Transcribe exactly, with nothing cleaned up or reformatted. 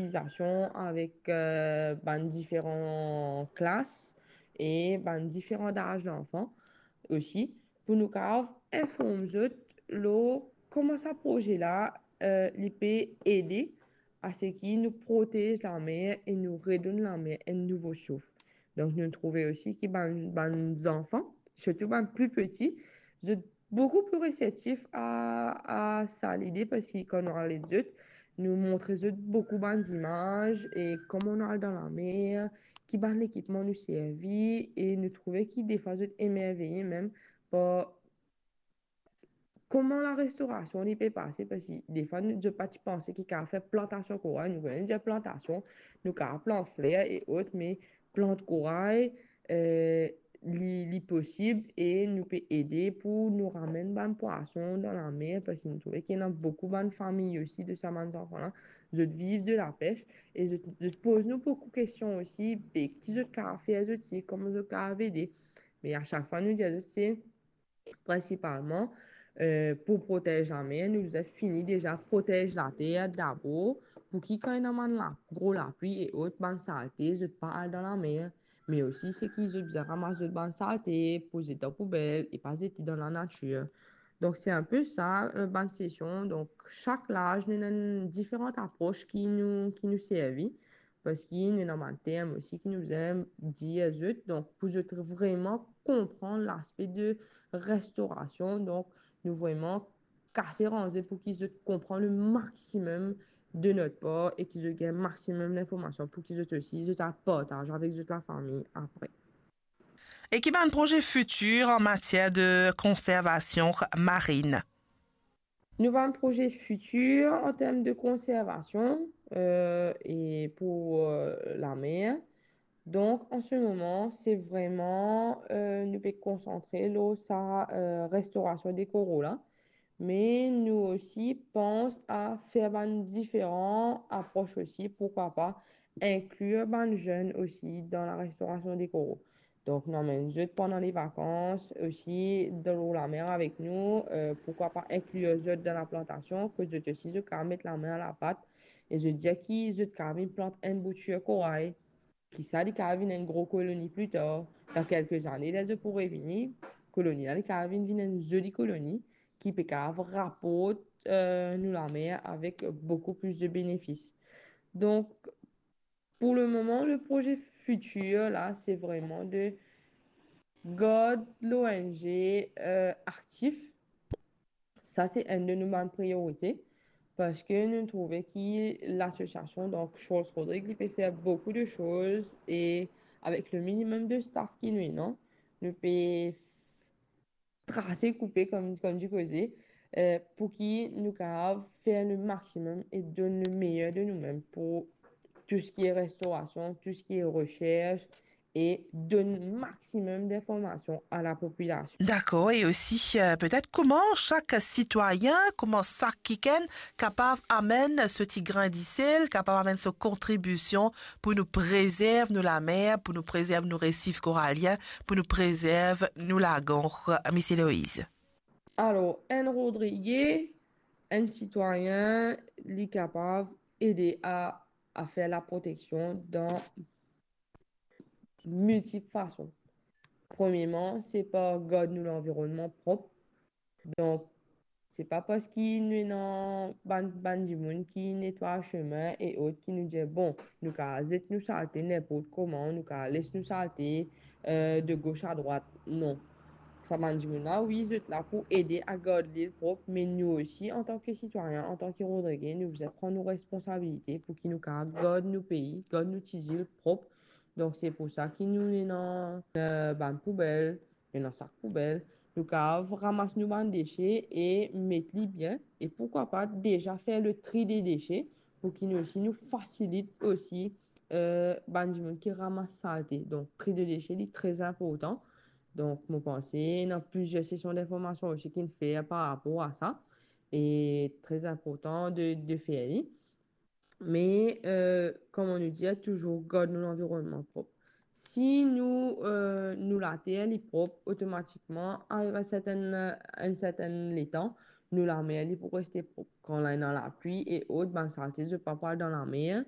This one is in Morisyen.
sansibilizasion avek, euh, bann diferan klas e bann diferan daz zanfan osi, pou nou kapav inform zot lor kouma sa proze la, euh, li pe ede a seki nou protez lamer e nou redonn lamer enn nouvo souf. Donk, nou trouve osi ki bann, bann zanfan, sirtou bann pli piti, zot boukou pli reseptif a, a sa lide, parski kan nou al ed zot, nou montre zot boukou bann zimaz e kouma nou al dan lamer, ki bann lekipman nou servi, e nou trouve ki defwa zot emerveye mem par kouma larestorasion li pe pase, parski defwa nou, zot pa ti panse ki kapav fer plantasion koray. Nou kone dir plantasion, nou kapav plant fler e ot, me plant koray, euh, li, li posib e nou pe ede pou nou ramenn bann pwason dan lamer, parski nou trouve ki ena boukou bann fami osi de sa bann zanfan la, zot viv de lapes e zot, zot poz nou boukou kestion osi, be ki zot kapav fer zot, se kouma zot kapav ede. Me a sak fwa nou dir zot se prinsipalman, euh, pou protez lamer, nou bizin fini deza protez later dabor, pou ki kan ena bann la, gro lapli e ot, bann salte, zot pa al dan lamer. Me osi, seki zot bizin ramas zot bann salte, pou zet dan poubel e pa zete dan lanatir. Donk, se inpe sa, euh, bann sesion. Donk, sak laz, nou ena enn diferan apros ki nou, ki nou servi. Parski nou ena bann term osi ki nou bizin dir zot, donk pou zot vreman konpran laspe de restorasion, donk nou vreman kase ranze pou ki zot konpran le maximum de notre part e ki zot gagn maximum linformasion pou ki zot osi, zot al partaz avek zot lafami apre. E ki bann proze fitir an matier de konservasion marin? Nou bann proze fitir an term de konservasion, euh, e pou, euh, lamer. Donk, an se moman, se vreman, euh, nou pe konsantre lor sa, euh, restorasion de koral la. Me nou osi pans a fer bann diferan apros osi, pourkwa pa inklir bann zenn osi dan larestorasion de koral. Donk, nou amenn zot pandan le vakans osi dan lor lamer avek nou, euh, pourkwa pa inklir zot dan laplantasion, kot zot osi, zot kapav met lame a lapat, e zot dir ki zot kapav vinn plant enn boutir koray, ki sa li kapav vinn enn gro koloni pli tar, dan kelke zane, ler zot pou revini, koloni la, li kapav vinn, vinn enn zoli koloni, ki pe kapav raport, euh, nou lamer avek boukou plis de benefis. Donk, pou le moman, le proze fitir la, se vreman de gard l'O N G, euh, aktif. Sa, se enn de nou bann priorite, parski nou trouve ki lasosiasion, donk, Charles Rodrigue, li pe fer boukou de soz, e avek le minimum de staff ki nou ena, nou pe trase koupe, kom, kom dir koze, euh, pou ki nou kapav fer le maximum e donn le meyer de nou mem pou tou seki restorasion, tou seki resers, e donn maximum d'informasion a lapopilasion. Dakor, e osi, euh, petet kouma sak sitwayin, kouma sak kikenn kapav amenn so ti grin disel, kapav amenn so kontribision pou nou prezerv nou lamer, pou nou prezerv nou resif koralien, pou nou prezerv nou lagon, Misie Loiz? Alor, enn Rodrige, enn sitwayin, li kapav ede a, a fer laproteksion dan miltip fason. Premierman, se par gard nou lanvironnman prop. Donk, se pa parski nou ena bann, bann dimoun ki netway sime e ot ki nou dir, bon, nou kapav zet nou salte ninport kouma, nou kapav les nou salte, euh, de gos a drwat. Non. Sa bann dimoun la, wi, zot la pou ede a gard lil prop, me nou osi, antan ki sitwayin, antan ki Rodrige, nou bizin pran nou responsabilite pou ki nou kapav gard nou pei, gard nou ti zil prop. Donk, se pou sa ki nou ena, euh, bann poubel, nou ena sak poubel, nou kapav ramas nou bann dese e met li bien, e pourkwa pa deza fer le tri de dese, pou ki nou osi nou fasilit osi, euh, bann dimoun ki ramas salte. Donk, tri de dese, li tre inportan. Donk, mo panse, ena plizier sesion d'informasion osi ki'nn fer par rapor a sa. E tre inportan de, de fer li. Me, euh, kouma nou dir, touzour gard nou lanvironnman prop. Si nou, euh, nou later li prop, otomatikman, ariv a sertenn, enn sertenn letan, nou lamer li pou reste prop. Kan la ena lapli e ot, bann salte, zot pa pou al dan lamer,